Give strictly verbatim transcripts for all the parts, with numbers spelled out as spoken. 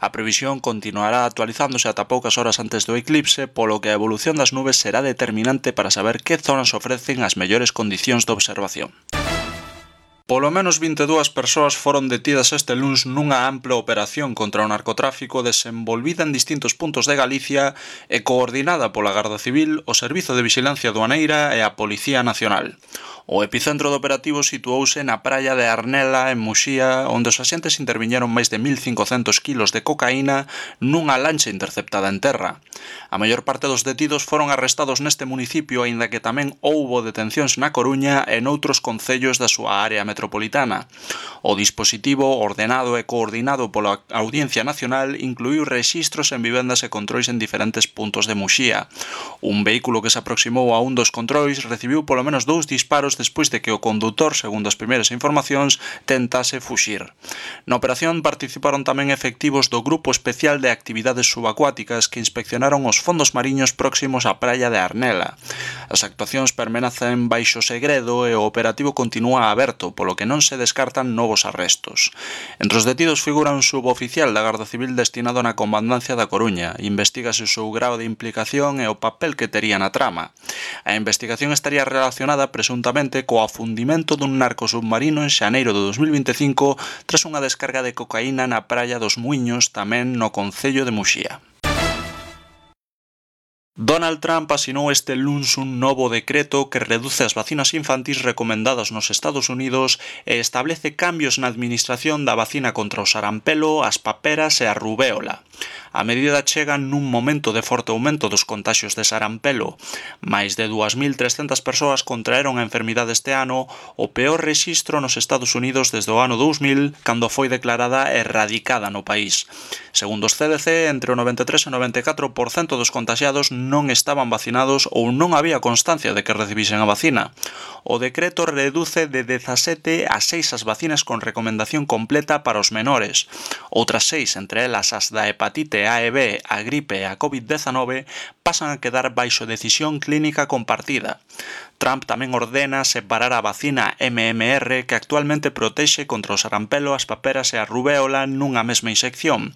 A previsión continuará actualizándose ata poucas horas antes do eclipse, polo que a evolución das nubes será determinante para saber que zonas ofrecen as mellores condicións de observación. Polo menos vinte e dúas persoas foron detidas este luns nunha ampla operación contra o narcotráfico desenvolvida en distintos puntos de Galicia e coordinada pola Garda Civil, o Servizo de Vixilancia Aduaneira e a Policía Nacional. O epicentro do operativo situouse na praia de Arnela, en Muxía, onde os axentes interviñeron máis de mil cincocentos kilos de cocaína nunha lancha interceptada en terra. A maior parte dos detidos foron arrestados neste municipio, aínda que tamén houbo detencións na Coruña e noutros concellos da súa área metropolitana. O dispositivo, ordenado e coordinado pola Audiencia Nacional, incluíu rexistros en vivendas e controis en diferentes puntos de Muxía. Un vehículo que se aproximou a un dos controis recibiu polo menos dous disparos despois de que o condutor, segundo as primeiras informacións, tentase fuxir. Na operación participaron tamén efectivos do Grupo Especial de Actividades Subacuáticas que inspeccionaron os fondos mariños próximos á praia de Arnela. As actuacións permanecen baixo segredo e o operativo continúa aberto, polo que non se descartan novos arrestos. Entre os detidos figura un suboficial da Garda Civil destinado na Comandancia da Coruña. Investígase o seu grao de implicación e o papel que tería na trama. A investigación estaría relacionada presuntamente co afundimento dun narcosubmarino en xaneiro de dos mil vinte e cinco tras unha descarga de cocaína na praia dos Muiños, tamén no concello de Muxía. Donald Trump asinou este luns un novo decreto que reduce as vacinas infantís recomendadas nos Estados Unidos e establece cambios na administración da vacina contra o sarampelo, as paperas e a rubéola. A medida chega nun momento de forte aumento dos contaxios de sarampelo. Mais de dúas mil trescentas persoas contraeron a enfermidade este ano, o peor rexistro nos Estados Unidos desde o ano dous mil, cando foi declarada erradicada no país. Segundo os C D C, entre o noventa e tres e o noventa e catro por cento dos contaxiados non estaban vacinados ou non había constancia de que recibisen a vacina. O decreto reduce de dezasete a seis as vacinas con recomendación completa para os menores. Outras seis, entre elas as da hepatite A e B, a gripe e a covid dezanove, pasan a quedar baixo decisión clínica compartida. Trump tamén ordena separar a vacina M M R que actualmente protexe contra o sarampelo, as paperas e a rubéola nunha mesma inyección.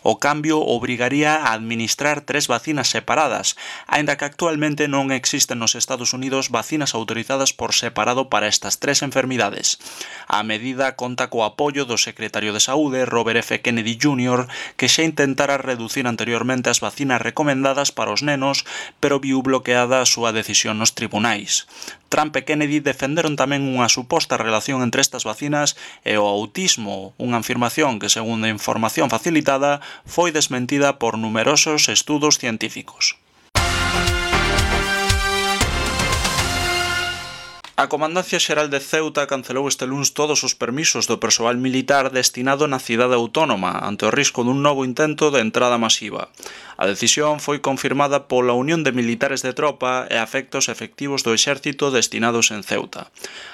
O cambio obrigaría a administrar tres vacinas separadas, aínda que actualmente non existen nos Estados Unidos vacinas autorizadas por separado para estas tres enfermidades. A medida conta co apoio do secretario de Saúde, Robert F. Kennedy júnior, que xa intentara reducir anteriormente as vacinas recomendadas para os nenos, pero viu bloqueada a súa decisión nos tribunais. Trump e Kennedy defenderon tamén unha suposta relación entre estas vacinas e o autismo, unha afirmación que, segundo a información facilitada, foi desmentida por numerosos estudos científicos. A Comandancia Xeral de Ceuta cancelou este luns todos os permisos do persoal militar destinado na cidade autónoma ante o risco dun novo intento de entrada masiva. A decisión foi confirmada pola Unión de Militares de Tropa e afecta os efectivos do exército destinados en Ceuta.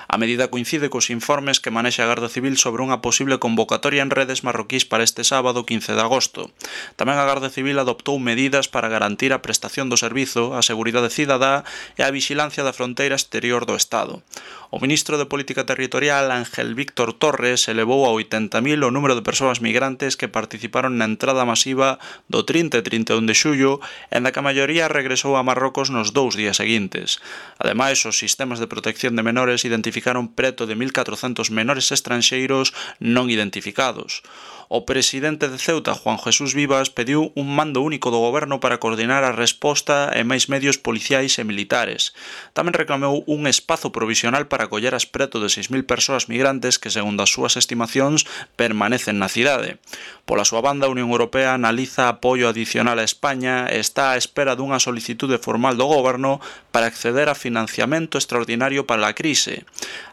A medida coincide cos informes que manexa a Garda Civil sobre unha posible convocatoria en redes marroquís para este sábado quince de agosto. Tamén a Garda Civil adoptou medidas para garantir a prestación do servizo, a seguridade cidadá e a vixilancia da fronteira exterior do Estado. O ministro de Política Territorial, Ángel Víctor Torres, elevou a oitenta mil o número de persoas migrantes que participaron na entrada masiva do trinta e trinta e un de xullo, en da que a maioría regresou a Marrocos nos dous días seguintes. Ademais, os sistemas de protección de menores identificaron preto de mil catrocentos menores estranxeiros non identificados. O presidente de Ceuta, Juan Jesús Vivas, pediu un mando único do goberno para coordinar a resposta e máis medios policiais e militares. Tamén reclamou un espazo provisional para acoller as preto de seis mil persoas migrantes que, segundo as súas estimacións, permanecen na cidade. Pola súa banda, a Unión Europea analiza apoio adicional a España e está á espera dunha solicitude formal do goberno para acceder a financiamento extraordinario para a crise.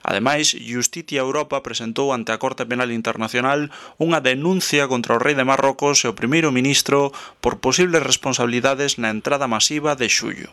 Ademais, Justitia Europa presentou ante a Corte Penal Internacional unha denuncia contra o rei de Marrocos e o primeiro ministro por posibles responsabilidades na entrada masiva de xullo.